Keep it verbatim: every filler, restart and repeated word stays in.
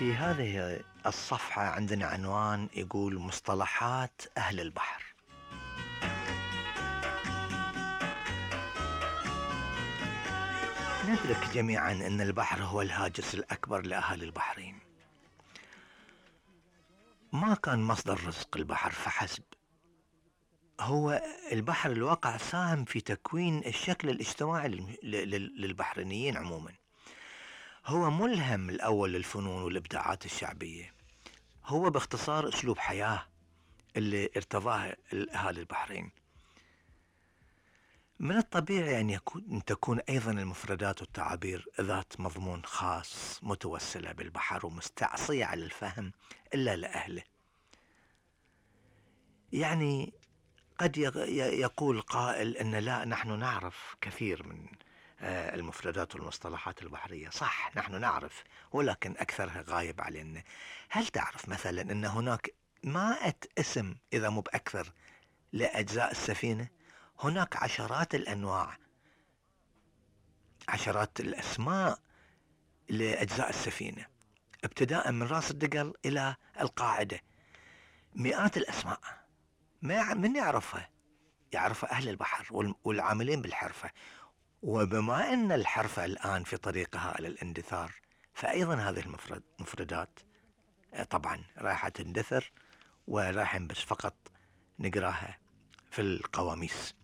في هذه الصفحة عندنا عنوان يقول مصطلحات أهل البحر. ندرك جميعا أن البحر هو الهاجس الأكبر لأهل البحرين. ما كان مصدر رزق البحر فحسب، هو البحر الواقع ساهم في تكوين الشكل الاجتماعي للبحرينيين عموما. هو ملهم الأول للفنون والإبداعات الشعبية. هو باختصار أسلوب حياة اللي ارتضاه أهالي البحرين. من الطبيعي أن يكون أن تكون أيضا المفردات والتعابير ذات مضمون خاص متوسلة بالبحر ومستعصية على الفهم إلا لأهله. يعني قد يقول قائل أن لا، نحن نعرف كثير من المفردات والمصطلحات البحرية. صح، نحن نعرف، ولكن أكثرها غايب علينا. هل تعرف مثلا أن هناك مائة اسم إذا مو بأكثر لأجزاء السفينة؟ هناك عشرات الأنواع، عشرات الأسماء لأجزاء السفينة، ابتداء من رأس الدقل إلى القاعدة. مئات الأسماء، ما من يعرفها؟ يعرفها أهل البحر والعاملين بالحرفة. وبما أن الحرفة الآن في طريقها إلى الاندثار، فأيضا هذه المفردات طبعا راح تندثر، وراح بس فقط نقراها في القواميس.